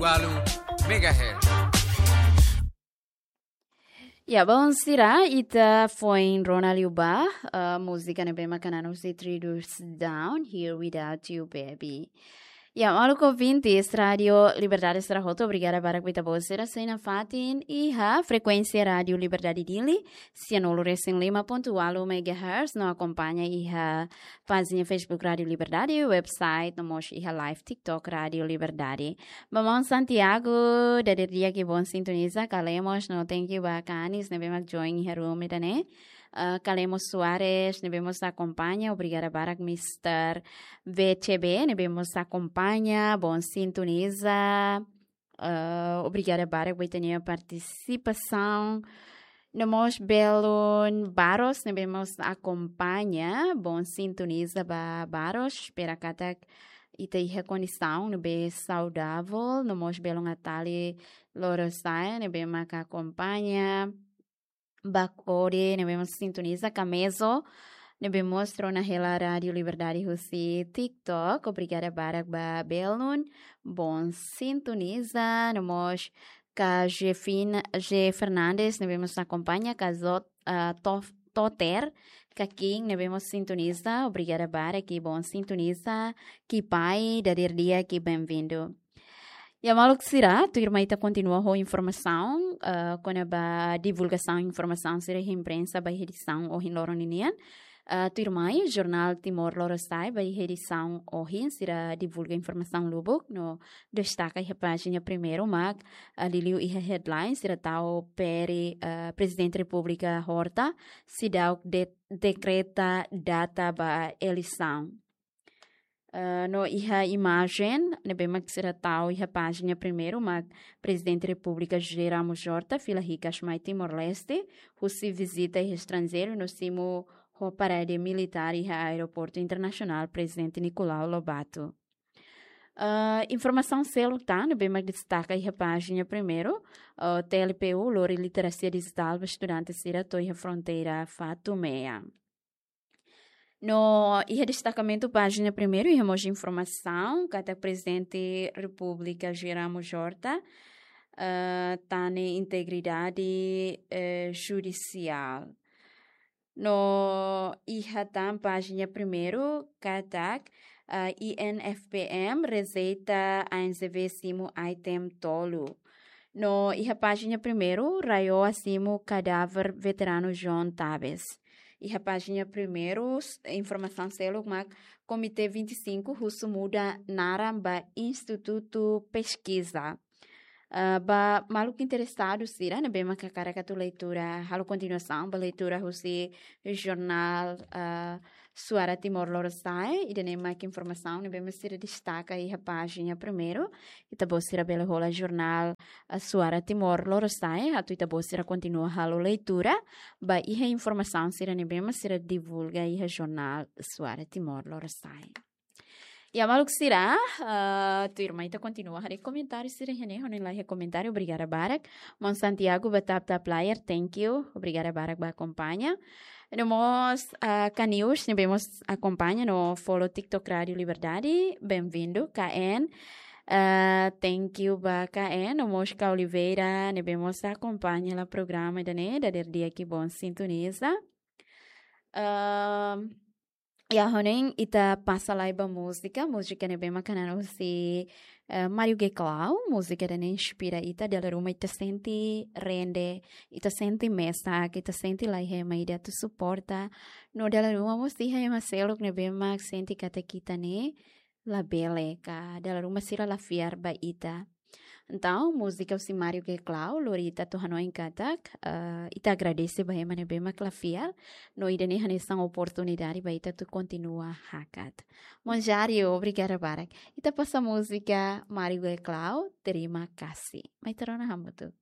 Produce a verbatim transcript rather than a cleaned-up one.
Walu megahertz. Ya, bon, sira, ita foin rona liu ba, eh, múzika ne'ebé mak hanesan husi Three Doors Down, Here Without You, Baby. Ya, maluk ouvintes, Rádio Liberdade sira hotu, obrigada barak ba ita-boot sira sei nafatin iha frekuénsia Rádio Liberdade Dili, sianulu resin lima pontu walu megahertz, no akompaña iha pájina Facebook Rádio Liberdade, website, no mós iha live TikTok Rádio Liberdade. Ba maun Santiago, dadeer di'ak i bon sintoniza, Kalemos, no thank you ba Kanis, ne'ebé mak join iha room ida-ne'e. Eh, Kalemos Soares, ne'ebé mós akompaña, obrigada barak Mister V C B, ne'ebé mós akompaña, bon sintoniza. Eh, obrigada barak ba ita-nia partisipasaun. No mós belun Baros, ne'ebé mós akompaña, bon sintoniza ba Baros, espera katak ita iha kondisaun ne'ebé saudavel, no mós belun Atali Lorosai, ne'ebé mak akompaña, Bakode, ne'ebé mós sintoniza, Kamezo, ne'ebé mós rona hela Rádio Liberdade husi TikTok, obrigada barak ba belun, bon sintoniza, no mós ka Jefina, Je Fernandes, ne'ebé mós akompaña, ka Zot, ah, Tof-, Toter, ka King, ne'ebé mós sintoniza, obrigada barak i bon sintoniza, Kipai, dadeer di'ak i benvindu. Ya, maluk sira, tuirmai ita kontinua ho informasaun, eh, kona-ba divulgasaun informasaun sira iha imprensa ba edisaun ohin loron ninian. Eh, tuirmai, Jornál Timor Lorosa'e ba iha edisaun ohin sira divulga informasaun lubuk, no destaka iha pájina primeiru mak, eh, liuliu iha headline sira tau P R, eh, Prezidente Repúblika Horta, seidauk de-, dekreta data ba eleisaun. Eh, no iha imajen ne'ebé mak sira tau iha pájina primeiru mak Prezidente Repúblika José Ramos Horta fila hikas mai Timor-Leste, husi vizita iha estranjeiru no simu ho parade militár iha Aeroportu Internasionál Prezidente Nicolau Lobato. Eh, informasaun seluk tan ne'ebé mak destaka iha pájina primeiru, eh, T L P U lori literasia dijitál ba estudante sira to'o iha fronteira Fatumea. No iha destakamentu pájina primeiru iha mós informasaun katak Prezidente Repúblika José Ramos Horta, eh, tane integridade, eh, judisiál. No iha tan pájina primeiru katak, eh, I N F P M rejeita A N Z V simu item tolu. No iha pájina primeiru, RAEOA simu kadáver veteranu João Tavares. Iha pájina primeiru, s-, informasaun seluk mak Komité vinte e cinco husu muda naran ba Institutu Peskiza. Ah, ba maluk interesadu sira ne'ebé mak hakarak atu leitura, halo kontinuasaun ba leitura husi jornál, ah, Suara Timor Lorosa'e, ida-ne'e mak informasaun ne'ebé mak sira destaka iha pájina primeiru. Ita-boot sira bele hola jornál, ah, Suara Timor Lorosa'e, atu ita-boot sira kontinua halo leitura ba iha informasaun sira ne'ebé mak sira divulga iha jornál Suara Timor Lorosa'e. Ya, maluk sira, ah, tuirmai ita kontinua haree komentáriu sira iha ne'e, ha'u hanoin la iha komentáriu, obrigada barak. Maun Santiago ba tap tap layar, thank you, obrigada barak ba akompaña. No mós, ah, Kanius, ne'ebé mós akompaña no follow TikTok Rádio Liberdade, benvindu, K N. Ah, thank you ba K N, no mós Ka Oliveira, ne'ebé mós akompaña hela programa ida-ne'e, dadeer di'ak i bon sintoniza. Ahm, Ya, ha'u hanoin ita pasa lai ba múzika, múzika ne'ebé mak hanesan husi, eh, Mário Geclau, múzika ida-ne'e inspira ita, dala ruma ita sente rende, ita sente mesak, ita sente la iha ema ida atu suporta. No dala ruma mós iha ema seluk ne'ebé mak sente katak ita ne'e labele ka, dala ruma sira la fiar ba ita. Entaun, múzika husi Mário Geclau lori ita atu hanoin katak, eh, ita agradese ba ema ne'ebé mak la fiar, no ida-ne'e hanesan oportunidade ba ita atu kontinua hakat. Maun Jário, obrigada barak. Ita pasa múzika Mário Geclau, Terima Kasih. Mai ita rona hamutuk.